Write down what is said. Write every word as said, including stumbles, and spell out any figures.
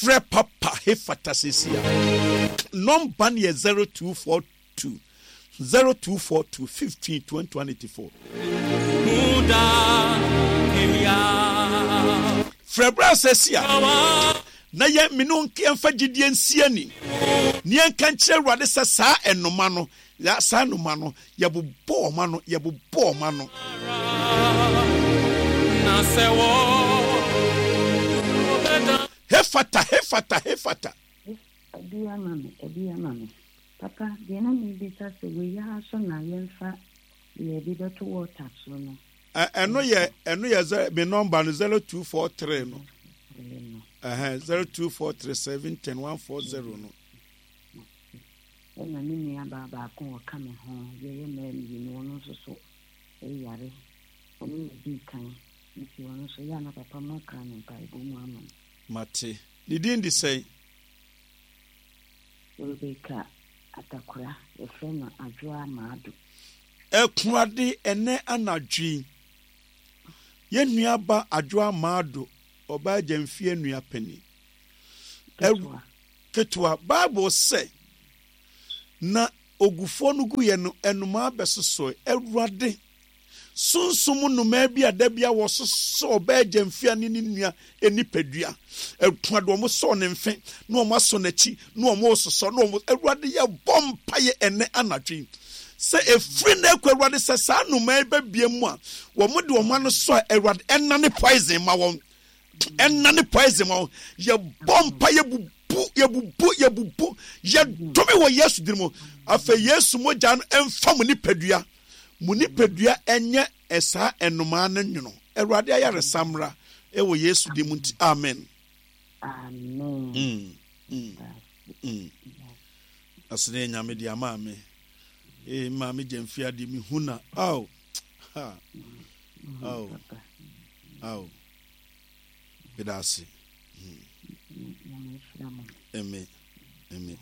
Frɛ Papa Hefata seesei a. Nɔmba no yɛ zero two four two zero two four two fifteen twenty one eighty four. Frɛ berɛ a seesei a na yɛn mene wo yɛmfa gyidie nsi ani ne yɛnka nkyerɛ Awurade sɛ saa ɛnoma no saa nnoma no yɛbobɔ wɔn ano yɛbobɔ wɔn ano. Hefata hefata hefata. Ɛbi ama me, ɛbi ama me. Papa, deɛ na mebisa sɛ wei ara so na yɛmfa deɛ yɛde bɛto water so no. Ɛno yɛ ɛno yɛ me nɔmba no zero two four three no. Ɛhɛn zero two four three seven ten one four zero no. Ɛna me nua baa baako a ɔka me ho, yɛyɛ mmaa mmienu, ɔno nso so yare. Ɔno na odii kan, nti ɔno nso yɛ a na papa mo aka no mpaebɔ mu ama no. Mate. Ne din de sɛn? Rebecca Atakora, yɛfrɛ no Adwoa Maado. Akurade, ɛnnɛ anadwo yi, yɛn nua ba Adwoa Maado, ɔbaa Gyamfie nua panin. Ketewa. Ketewa. Bible sɛ, Na ogufoɔ no guiɛ no, nnomaa bɛsosɔe. Awurade, sunsum nnomaa bi a da bi a wɔsosɔ ɔbaa gyamfia ne ne nua nipadua. Awurade, wɔn sɔɔ ne mfe, na wɔn asɔ n'akyi, na wɔn resosɔ, na wɔn Awurade, yɛbɔ mpaeɛ ɛnɛ anadwo yi sɛ ɛfiri nnɛ kɔ Awurade sɛ saa nnomaa yi bɛbie mu a wɔn de wɔn ano sɔ a Awurade ɛnane poison ma wɔn. Ɛnna ne poison ma yɛbɔ mpa yɛbubu yɛbubu yɛbubu yɛdome wɔ Yesu din mu. Afei Yesu mogya no ɛmfa mo nipadua mo nipadua ɛnyɛ ɛsaa ɛnomaa no nwono. Awurade ayaresa mmra ɛwɔ Yesu din mu nti amen. Amen. Mm, mm, mm. Asene nyame de ama me. Eh, maame gyamfi adeɛ mehu na. Aw. Ha. Aw. Aw. Meda ase. Amen. Amen.